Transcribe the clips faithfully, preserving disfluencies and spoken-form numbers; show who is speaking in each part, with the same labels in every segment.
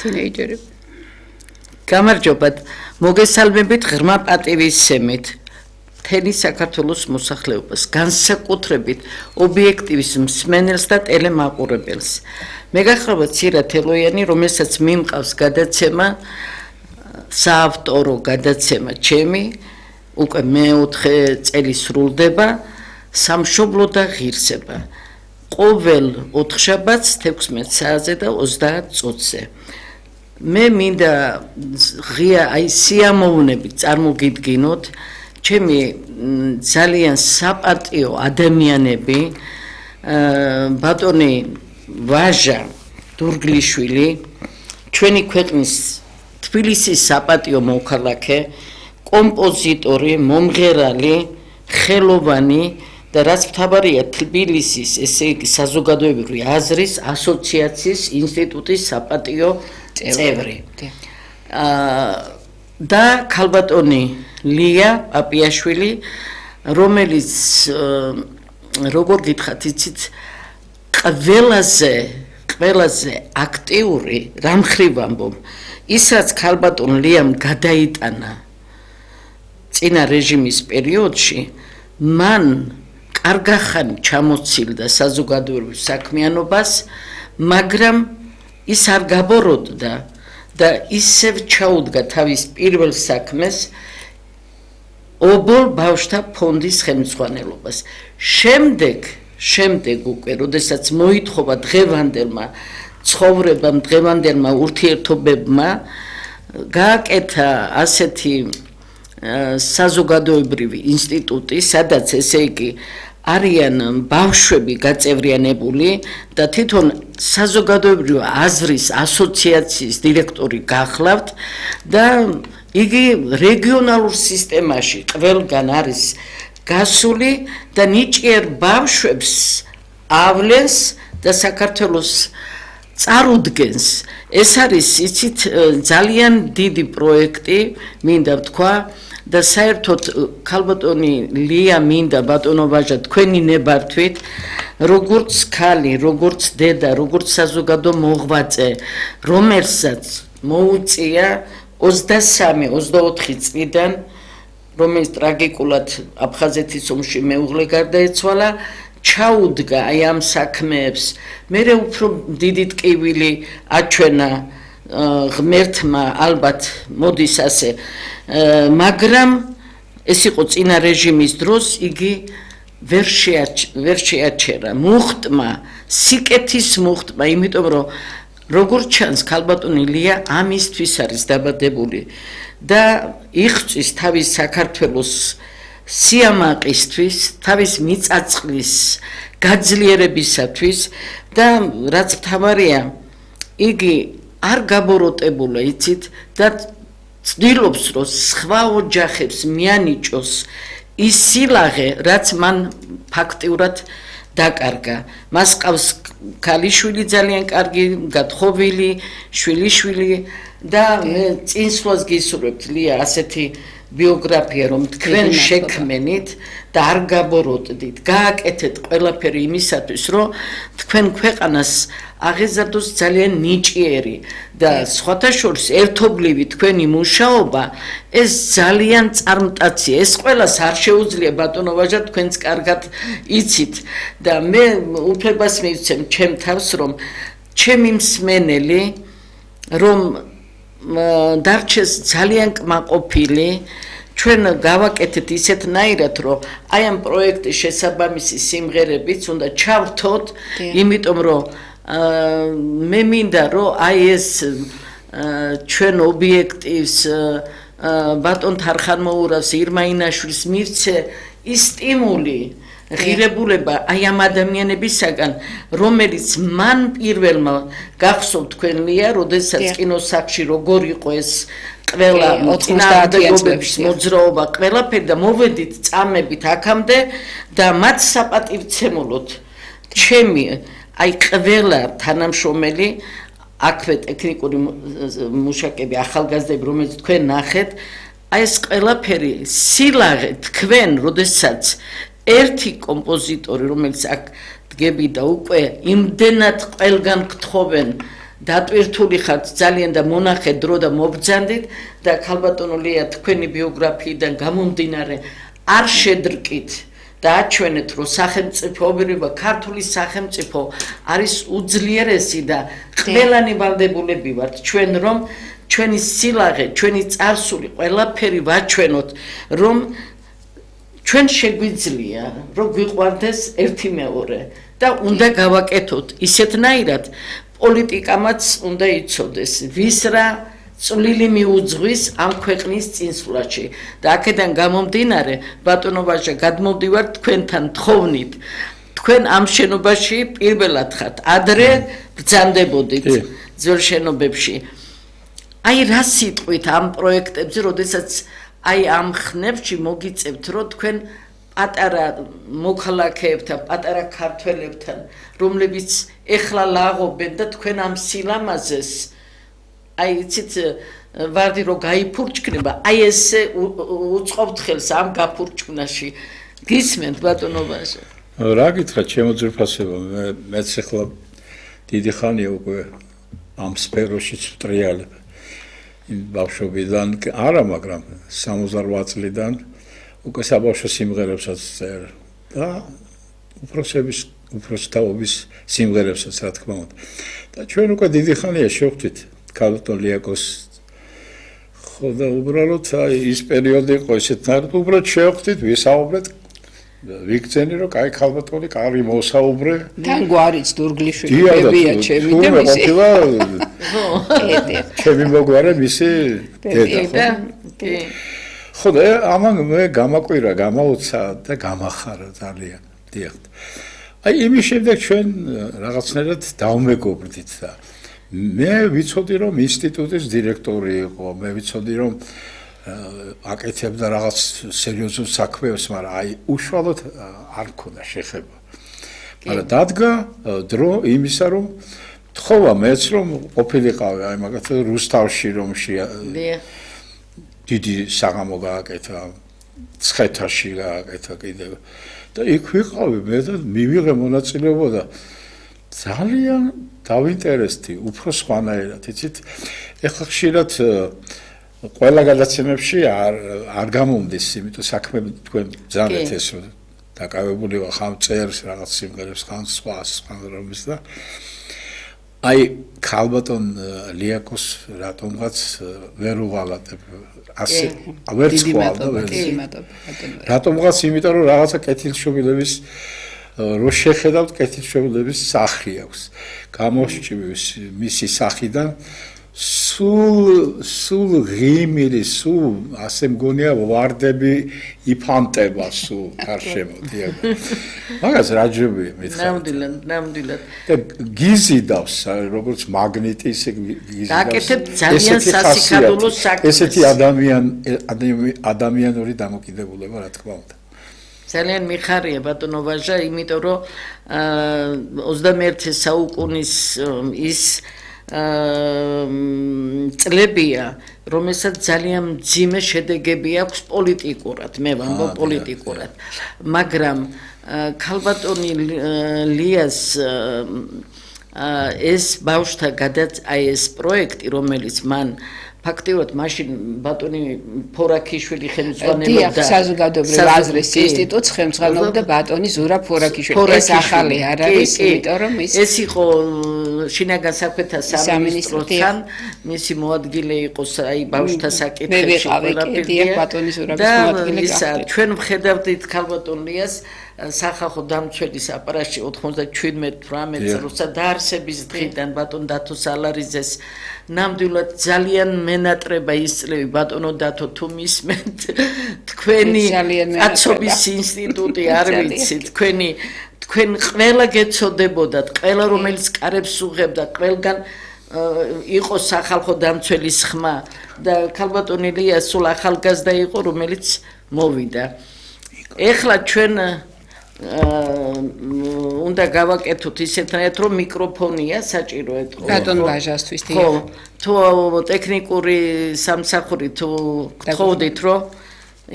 Speaker 1: თინეიჯერები. გამარჯობათ, მოგესალმებით ღრმა პატივისცემით მთელი საქართველოს მოსახლეობას, განსაკუთრებით ობიექტივის მსმენელს და ტელემაყურებელს. მე გახლავთ ცირა თელოიანი, რომელსაც მიმყავს გადაცემა, საავტორო გადაცემა ჩემი, უკვე მეოთხე წელი სრულდება, სამშობლო და ღირსება. ყოველ ოთხშაბათს თექვსმეტ საათზე და ოცდაათ წუთზე. მე მინდა ღია აი სიამოვნებით წარმოგიდგინოთ ჩემი ძალიან საპატიო ადამიანები, ბატონი ვაჟა დურგლიშვილი, ჩვენი ქვეყნის თბილისის საპატიო მოქალაქე, კომპოზიტორი, მომღერალი, ხელოვანი და რაც მთავარია თბილისის, ესე იგი საზოგადოებრივი აზრის ასოციაციის ინსტიტუტის საპატიო წევრი. და ქალბატონი ლია პაპიაშვილი, რომელიც როგორ გითხრათ, იცით, ყველაზე ყველაზე აქტიური რამ ხრივ ამბობ, ისაც ქალბატონ ლიამ გადაიტანა წინა რეჟიმის პერიოდში, მან კარგახანი ჩამოცილდა საზოგადოებრივ საქმიანობას, მაგრამ ის არ გაბოროტდა და ისევ ჩაუდგა თავის პირველ საქმეს ობოლ ბავშვთა ფონდის ხელმძღვანელობას. შემდეგ, შემდეგ უკვე, როდესაც მოითხოვა დღევანდელმა ცხოვრებამ, დღევანდელმა ურთიერთობებმა, გააკეთა ასეთი საზოგადოებრივი ინსტიტუტი, სადაც ესე იგი არიან ბავშვები გაწევრიანებული და თვითონ საზოგადოებრივი აზრის ასოციაციის დირექტორი გახლავთ და იგი რეგიონალურ სისტემაში ყველგან არის გასული და ნიჭიერ ბავშვებს ავლენს და საქართველოს წარუდგენს. ეს არის იცით ძალიან დიდი პროექტი, მინდა ვთქვა და საერთოდ ქალბატონი ლია მინდა ბატონო ვაჟა თქვენი ნებართვით, როგორც ქალი, როგორც დედა, როგორც საზოგადო მოღვაწე, რომელსაც მოუწია ოცდასამი ოცდაოთხი წლიდან, რომელიც ტრაგიკულად აფხაზეთის ომში მეუღლე გარდაეცვალა, ჩაუდგა აი ამ საქმეებს. მერე უფრო დიდი ტკივილი აჩვენა ღმერთმა, ალბათ მოდის ასე, მაგრამ ეს იყო წინა რეჟიმის დროს, იგი ვერ შეაჩერა მუხტმა, სიკეთის მუხტმა, იმიტომ რომ როგორც ჩანს ქალბატონი ლია ამისთვის არის დაბადებული და იღწვის თავის საქართველოს სიამაყისთვის, თავის მიწაწყლის გაძლიერებისათვის და რაც მთავარია, იგი არ გაბოროტებულა, იცით, და ცდილობს, რომ სხვა ოჯახებს მიანიჭოს ის სილაღე, რაც მან ფაქტიურად დაკარგა. მას ყავს ქალიშვილი ძალიან კარგი, გათხოვილი შვილიშვილი და მე წინსვლას გისურვებთ ლია ასეთი ბიოგრაფია, რომ თქვენ შექმენით და არ გაბოროტდით, გააკეთეთ ყველაფერი იმისათვის, რომ თქვენ ქვეყანას აღეზარდოს ძალიან ნიჭიერი და სხვათა შორის ერთობლივი თქვენი მუშაობა, ეს ძალიან წარმტაცია. ეს ყველას არ შეუძლია ბატონო ვაჟა, თქვენც კარგად იცით და მე უფლებას მივცემ ჩემ თავს, რომ ჩემი მსმენელი, რომ დარჩეს ძალიან კმაყოფილი, ჩვენ გავაკეთეთ ისეთნაირად, რომ აი ამ პროექტის შესაბამისი სიმღერებიც უნდა ჩავრთოთ, იმიტომ რომ მე მინდა რომ აი ეს ჩვენ ობიექტივს ბატონ თარხანმოურავს ირმა ინაშვილს მივცე ის სტიმული ღირებულება აი ამ ადამიანებისაგან, რომელიც მან პირველმა გახსოვთ თქვენ ლია, როდესაც კინოსახლში როგორ იყო ეს ყველა წინააღმდეგობების მოძრაობა, ყველაფერი და მოვედით წამებით აქამდე და მათ საპატივცემულოდ ჩემი აი ყველა თანამშრომელი, აქვე ტექნიკური მუშაკები, ახალგაზრდები, რომელიც თქვენ ნახეთ, აი ეს ყველაფერი სილაღე თქვენ, როდესაც ერთი კომპოზიტორი, რომელიც აქ დგები და უკვე იმდენად ყველგან გთხოვენ დატვირთული ხართ ძალიან და მონახე დრო და მობრძანდით და ქალბატონო ლია თქვენი ბიოგრაფიიდან გამომდინარე არ შედრკით და აჩვენეთ რომ სახელმწიფოობა ქართული სახელმწიფო არის უძლიერესი და ყველანი ვალდებულები ვართ ჩვენ რომ ჩვენი სილაღე ჩვენი წარსული ყველაფერი ვაჩვენოთ რომ ჩვენ შეგვიძლია რომ გვიყვარდეს ერთი მეორე და უნდა გავაკეთოთ ისეთნაირად პოლიტიკამაც უნდა იცოდეს ვის რა წვლილი მიუძღვის ამ ქვეყნის წინსვლაში და აქედან გამომდინარე ბატონო ვაჟა გადმოვდივართ თქვენთან თხოვნით თქვენ ამ შენობაში პირველად ხართ ადრე ბრძანდებოდით ძველ შენობებში აი რა სიტყვით ამ პროექტებზე როდესაც აი ამ ხნებში მოგიწევთ რომ თქვენ პატარა მოქალაქეებთან პატარა ქართველებთან რომლებიც ეხლა ლაღობენ და თქვენ ამ სილამაზეს აი იცით ვარდი რომ გაიფურჩქნება აი ესე უწყობთ ხელს ამ გაფურჩქნაში გისმენთ ბატონო ვაჟა
Speaker 2: რა გითხრათ ჩემო ძვირფასებო მე მეც ახლა დიდი ხანია უკვე ამ სფეროში ვტრიალებ იმ ბავშვობიდან არა მაგრამ სამოცდაოთხ წლიდან უკვე საბავშვო სიმღერებსაც წერ და უფროსების უფროსთაობის სიმღერებსაც რა თქმა უნდა და ჩვენ უკვე დიდი ხანია შევხვდით ქალბატონ ლიაკოს ხო და უბრალოდ აი ის პერიოდი იყო ესეთნაირად უბრალოდ შევხვდით ვისაუბრეთ ვიქცენი რომ კაი ქალბატონი კარი მოსაუბრე
Speaker 3: თან გვარიც დურგლიშვილი ბებია ჩემი და მისი
Speaker 2: ჩემი მოგვარე მისი დედა ხო და ამან მე გამაკვირა გამაუცა და გამახარა ძალიან დიახ აი იმის შემდეგ ჩვენ რაღაცნაირად დავმეგობრდით და მე ვიცოდი რომ ინსტიტუტის დირექტორი იყო მე ვიცოდი რომ აკეთებდა რაღაც სერიოზულ საქმეებს მაგრამ აი უშუალოდ არ მქონდა შეხება მაგრამ დადგა დრო იმისა რომ თხოვა მეც რომ ყოფილიყავი აი მაგათი რუსთავში რომში დიდი საღამო გააკეთა ცხეთაში გააკეთა კიდევ და იქ ვიყავი მე და მივიღე მონაწილეობა და ძალიან დავინტერესდი უფრო სხვანაირად იცით ეხლა ხშირად ყველა გადაცემებში არ არ გამომდის იმიტომ საქმე თქვენ ძალიან ეს რომ დაკავებული ვარ ხამ წერს რაღაც სიმღერებს ხამ სხვა სხვა რომის და აი ქალბატონ ლიაკოს რატომღაც ვერ უღალატებ ასე ვერ ცხოვარ და ვერ რატომღაც იმიტომ რომ რაღაცა კეთილშობილების რო შეხედავთ კეთილშობილების სახი აქვს გამოსჭვის მისი სახიდან სულ სულ ღიმილი სულ ასე მგონია ვარდები იფანტება სულ გარშემო დიახ მაგას რაჯები მითხარ
Speaker 1: ნამდვილად ნამდვილად
Speaker 2: და გიზიდავს როგორც მაგნიტი ისე გიზიდავს
Speaker 1: გაკეთებ ძალიან სასიხადულო საქმეს
Speaker 2: ესეთი ადამიან ადამიანური დამოკიდებულება რა თქმა უნდა
Speaker 1: ძალიან მიხარია ბატონო ვაჟა იმიტომ რომ ოცდამეერთე საუკუნის ის წლებია რომელსაც ძალიან მძიმე შედეგები აქვს პოლიტიკურად მე ვამბობ პოლიტიკურად მაგრამ ქალბატონი ლიას ეს ბავშვთა გადაც აი ეს პროექტი რომელიც მან ფაქტიურად მაშინ ბატონი ფორაქიშვილი ხელმძღვანელობდა
Speaker 3: დიახ საზოგადოებრივ აზრის ინსტიტუტს ხელმძღვანელობდა ბატონი ზურაბ ფორაქიშვილი ეს ახალი არ არის იმიტომ რომ ის
Speaker 1: ეს იყო შინაგან საქმეთა სამინისტროსთან მისი მოადგილე იყო აი ბავშვთა საკითხებში
Speaker 3: ყველაფერი ბატონი ზურაბის მოადგილე
Speaker 1: გახდა ჩვენ ვხედავდით ქალბატონ ლიას სახალხო დამცველის აპარატში ოთხმოცდაჩვიდმეტ რამე წლსა დაარსების დღიდან ბატონ დათო სალარიძეს ნამდვილად ძალიან მენატრება ის წლები ბატონო დათო თუ მისმენთ თქვენი კაცობის ინსტიტუტი არ ვიცი თქვენი თქვენ ყველა გეცოდებოდათ ყველა რომელიც კარებს უღებდა ყველგან იყო სახალხო დამცველის ხმა და ქალბატონი ლია სულ ახალგაზრდა იყო რომელიც მოვიდა ეხლა ჩვენ უნდა გავაკეთოთ ისეთნაირად რომ მიკროფონია საჭირო ეთქო
Speaker 3: ბატონ ვაჟასთვის
Speaker 1: ხო თუ ტექნიკური სამსახური თუ გთხოვდით რომ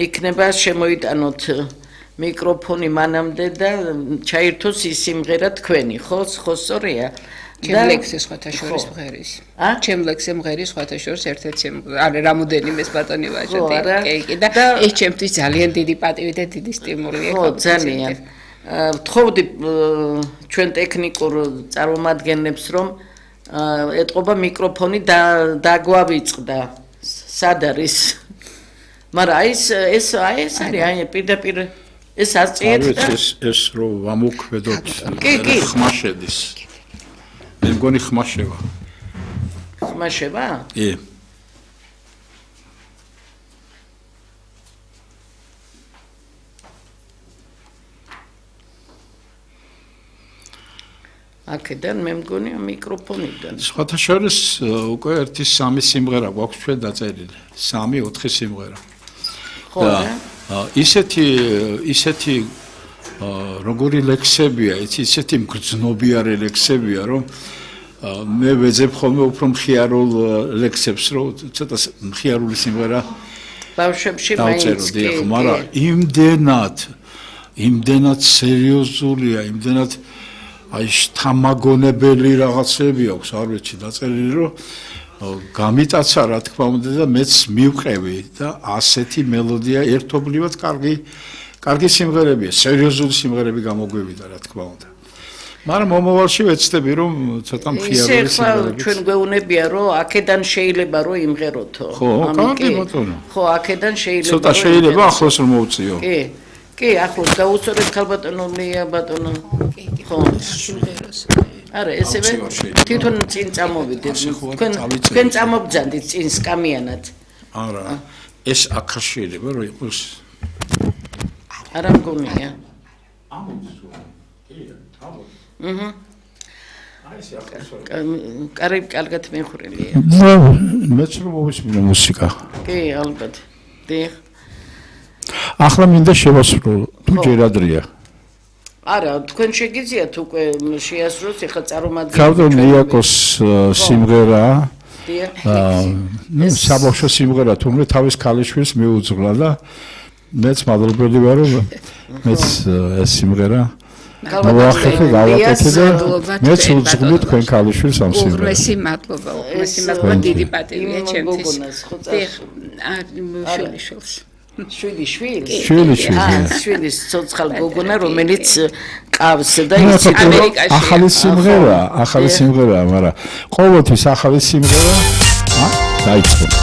Speaker 1: იქნება შემოიტანოთ მიკროფონი მანამდე და ჩაირთოს ის სიმღერა თქვენი ხო ხო სწორია
Speaker 3: ჩემ ლექსზე სხვათა შორის მღერის. ჩემ ლექსზე მღერის სხვათა შორის ერთ-ერთი არის რამოდენიმეს ბატონი ვაჟოდი. კი, კი და ეს ჩემთვის ძალიან დიდი პატივი და დიდი სტიმულია.
Speaker 1: ხო, ძალიან. ვთხოვდი ჩვენ ტექნიკურ წარმომადგენლებს რომ ეტყობა მიკროფონი და დაგვავიწყდა. სად არის? მაგრამ აი ეს ეს აი ეს არის აი პირდაპირ ეს აწიეთ და
Speaker 2: ეს ეს რო ვამოქმედოთ ხმა შედის. მე მგონი ხმა შევა.
Speaker 1: ხმა შევა?
Speaker 2: კი.
Speaker 1: აქედან მე მგონი მიკროფონიდან.
Speaker 2: სხვათა შორის უკვე ერთი სამი სიმღერა გვაქვს ჩვენ დაწერილი. სამი ოთხი სიმღერა.
Speaker 1: ხო და
Speaker 2: ისეთი ისეთი როგორი ლექსებია, ისეთი მგრძნობიარე ლექსებია, რომ მე ვეძებ ხოლმე უფრო მხიარულ ლექსებს, რომ ცოტა მხიარული სიმღერა
Speaker 1: ბავშვებში მაინც კი,
Speaker 2: მაგრამ იმდენად იმდენად სერიოზულია, იმდენად აი შთამაგონებელი რაღაცები აქვს, არ ვიცი, დაწერილი, რომ გამიტაცა რა თქმა უნდა და მეც მივყევი და ასეთი მელოდია ერთობლივად კარგი კარგი სიმღერებია, სერიოზული სიმღერები გამოგვივიდა რა თქმა უნდა. მაგრამ მომავალში ვეცდები რომ ცოტა მხიარული სიმღერები.
Speaker 1: ჩვენ გვეუბნებია რომ აქედან შეიძლება რომ იმღეროთო.
Speaker 2: ხო, კარგი ბატონო.
Speaker 1: ხო, აქედან შეიძლება.
Speaker 2: ცოტა შეიძლება ახლოს რომ მოვწიო.
Speaker 1: კი. კი, ახლოს დაუსწორეთ ხალბატონო ლია ბატონო. ხო,
Speaker 3: სიმღერას.
Speaker 1: არა, ესევე თვითონ წინ წამოვიდეთ. თქვენ თქვენ წამობძანდით წინ სკამიანად.
Speaker 2: არა, ეს აქ შეიძლება რომ იყოს.
Speaker 1: არა მგონია. აჰა. აი ეს ახლა. კარგი, კარგად მეხურელია.
Speaker 2: მეც რომ მოვისმინე მუსიკა.
Speaker 1: კი, ალბათ. დიახ.
Speaker 2: ახლა მინდა შევასრულო, თუ ჯერ ადრეა.
Speaker 1: არა, თქვენ შეგიძლიათ უკვე შეასრულოთ, ეხლა წარმოგიდგენთ.
Speaker 2: კავდონ იაკოს სიმღერა.
Speaker 1: აა,
Speaker 2: ნუ საბავშვო სიმღერა, თუმცა თავის ქალიშვილს მიუძღვნა და მეც მადლობელი ვარ, რომ მეც ეს სიმღერა გავაკეთე, გავაკეთე და მეც უძღვნი თქვენ ქალიშვილს ამ სიმღერას.
Speaker 3: უღმესი მადლობა, უღმესი მადლობა, დიდი პატივია ჩემთვის. დიახ, შვილიშვილს.
Speaker 1: შვილი შვილს
Speaker 2: შვილი შვილს
Speaker 1: შვილის ცოცხალ გოგონა რომელიც ყავს და
Speaker 2: იცი ამერიკაში ახალი სიმღერა ახალი სიმღერა მაგრამ ყოველთვის ახალი სიმღერა დაიწყო